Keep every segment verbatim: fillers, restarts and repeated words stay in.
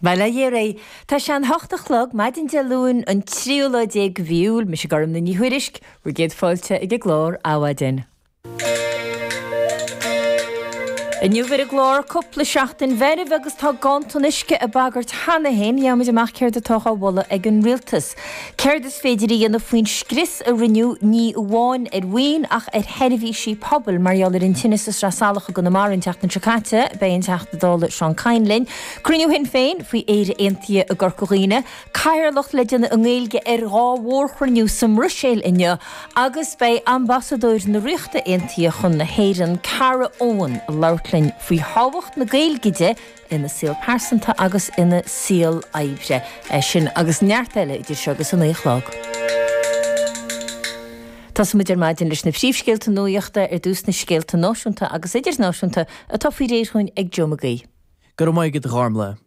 Bail ó Dhia oraibh. Tá sé an hocht a chlog, maidin Dé Luain, an tríú lá déag de mhí Iúil, mise Gormlaith Ní Thuairisg, bhur gcéad fáilte ag an gclár Adhmhaidin. Inniu ar an gclár, cúpla seachtain mheirbh agus tá ganntan uisce ag bagairt cheana féin, gheobhaimid amach céard atá á mholadh ag an rialtas. Céard is féidir a dhéanamh faoin scrios a rinneadh ní amháin ar mhaoin ach ar sheirbhísí pobail mar gheall ar an tine sa Sraith Salach i gConamara an tseachtain seo caite, beidh an Teachta Dála Seán Kyne linn. Cruinniú Shinn Féin faoi Éire Aontaithe i gCorca Dhuibhne, Cathaoirleacht le déanamh i nGaeilge ar dhá mhórchruinniú sa mBruiséil inniu agus beidh Ambasadóir na Ríochta Aontaithe chun na hÉireann, Cara Owen, ag labhairt linn faoi thábhacht na Gaeilge di ina saol pearsanta agus ina saol oibre. É sin agus neart eile idir seo agus a naoi a chlog. Tosóimid ar maidin leis na príomhscéalta nuachta ar dtús na scéalta náisiúnta agus idirnáisiúnta atá faoi réir dhúinn ag Joe Mag Aoidh. Go raibh maith agat a Ghormlaith.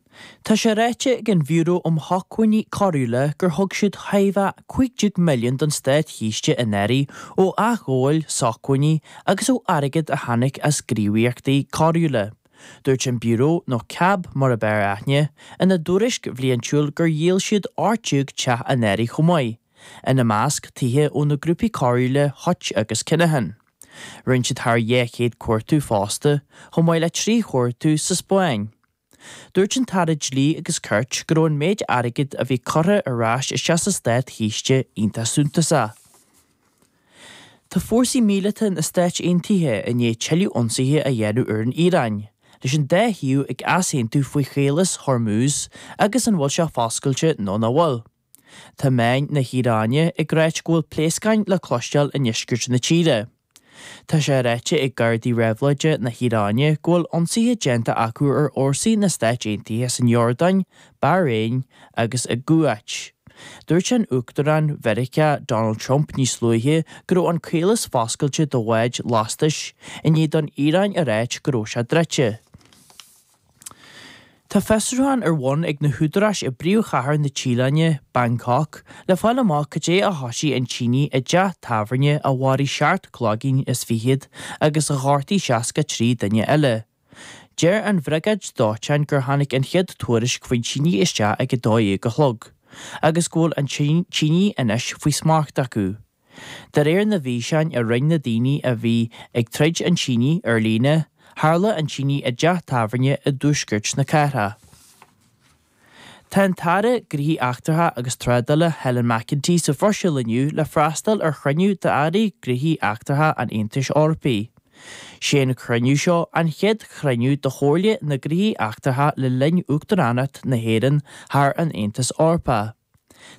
Tá sé ráite ag an Bhiúró um Shócmhainní Coiriúla gur thug siad chóir a bheith cúig déag milliún don státchiste anuraidh ó athghabháil sócmhainní agus ó airgead a tháinig as gníomhaíochtaí coiriúla. Dúirt an Biúró, nó CAB mar ab fhearr aithne, ina dtuairisc bhliantúil gur dhíol siad ocht déag teach anuraidh chomh maith, ina measc tithe ó na grúpaí coiriúla Hutch agus Kinahan. Rinne siad thar dhá chéad cuartú fosta, chomh maith le trí chuartú sa Spáinn. Dúirt an tAire Dlí agus Cirt go raibh an méid airgid a bhí curtha ar ais isteach sa státchiste iontach suntasach. Tá fórsaí míleata na Stáit Aontaithe i ndiaidh tuilleadh ionsaithe a dhéanamh ar an Iaráin, leis an dá thaobh ag easaontú faoi chaolas Hormuz agus an bhfuil sé foscailte nó nach bhfuil. Tá meáin na hIaráine ag ráit go bhfuil pléascáin le cloisteáil i ndeisceart na tíre. Tá sé ráite ag Gardaí Réabhlóide na hIaráine go bhfuil ionsaithe déanta acu ar fhórsaí na Stáit Aontaithe san Iordáin, Bairéin agus i gCuáit. Dúirt an Uachtarán Mheiriceá Donald Trump níos luaithe go raibh an caolas foscailte do bháid lastais i ndiaidh don Iaráin a ráit go raibh sé druidte. Tá fiosrúchán ar bun ag na húdaráis i bpríomhchathair na Téalainne, Bangkok, le fáil amach cad é a thosaigh an tine i dteach tábhairne a mharaigh seacht gcloigeann is fichead agus a ghortaigh seasca trí duine eile. Deir an bhriogáid dóiteáin gur tháinig an chéad tuairisc faoin tine isteach ag a dó dhéag a chlog, agus go bhfuil an tine anois faoi smacht acu. De réir na bhfíseán a rinne na daoine a bhí ag troid an tine ar líne, tharla an tine i dteach tábhairne i dtuaisceart na cathrach. Tá an tAire Gnóthaí Eachtracha agus Trádála Helen McEntee sa Bhruiséil inniu le freastal ar chruinniú d'Airí Gnóthaí Eachtracha an Aontais Eorpaigh. Sé an cruinniú seo an chéad chruinniú de Chomhairle na Gnóthaí Eachtracha le linn Uachtaránacht na hÉireann thar an Aontas Eorpach.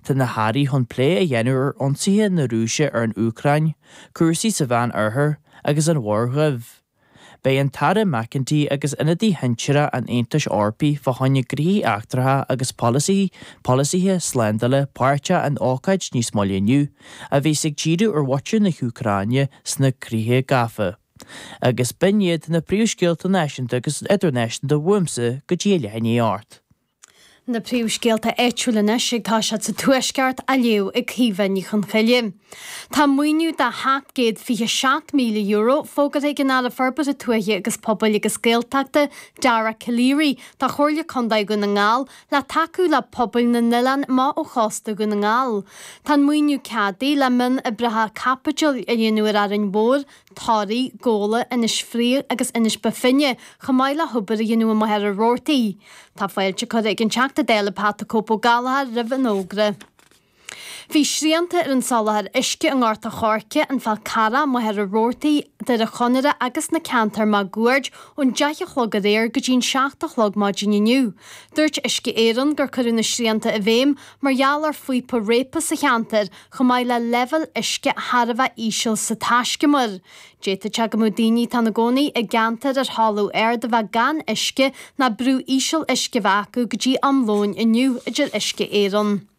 Tá na hairí chun plé a dhéanamh ar ionsaithe na Rúise ar an Úcráin, cúrsaí sa Mheán Oirthear agus an Mhuir Dhuibh. Beidh an tAire McEntee agus ionadaí shinsearach an Aontais Eorpaigh fá choinne gnóthaí eachtracha agus polasaithe polasaithe slándála páirteach in ócáid níos moille inniu, a bhíos ag díriú ar mhuintir na hÚcráine sna críocha gafa. Agus b'in iad na príomhscéalta náisiúnta agus idirnáisiúnta uaimse go dtí a leath i ndiaidh a hocht. Na príomhscéalta áitiúla anois ag toiseacht sa Tuaisceart á léamh ag Caoimhe Ní Chonchoille. Tá maoiniú de sheacht gcéad fiche seacht míle euro fógartha ag an Aire Forbartha Tuaithe agus Pobail agus Gaeltachta, Dara Calleary, do Chomhairle Contae Dhún na nGall le tacú le pobail na n-oileán amach ó chósta Dhún na nGall. Tá an maoiniú ceadaithe le mionoibreacha caipitil a dhéanamh ar Árainn Mhór, Toraigh, Gabhla, Inis Fraoich agus Inis Bó Finne, chomh maith le hobair a dhéanamh i Machaire Rabhartaigh. Tá fáilte curtha ag an Teachta Dála Pat the Cope Ó Gallchóir roimh an fhógra. Bhí srianta ar an soláthar uisce i nGort a' Choirce, an Fál Carrach, Machaire Rabhartaigh, Doire Chonaire agus na ceantair máguaird ón deich a chlog aréir go dtí an seacht a chlog maidin inniu. Dúirt Uisce Éireann gur cuireadh na srianta i bhfeidhm mar gheall ar phíopa réabtha sa cheantar chomh maith le leibhéal uisce thar a bheith íseal sa taiscumar. D'fhéadfadh sé go mbeadh daoine atá ina gcónaí i gceantair ar thalamh ard a bheith gan uisce ná brú íseal uisce a bheith acu go dtí am lóin inniu, a deir Uisce Éireann.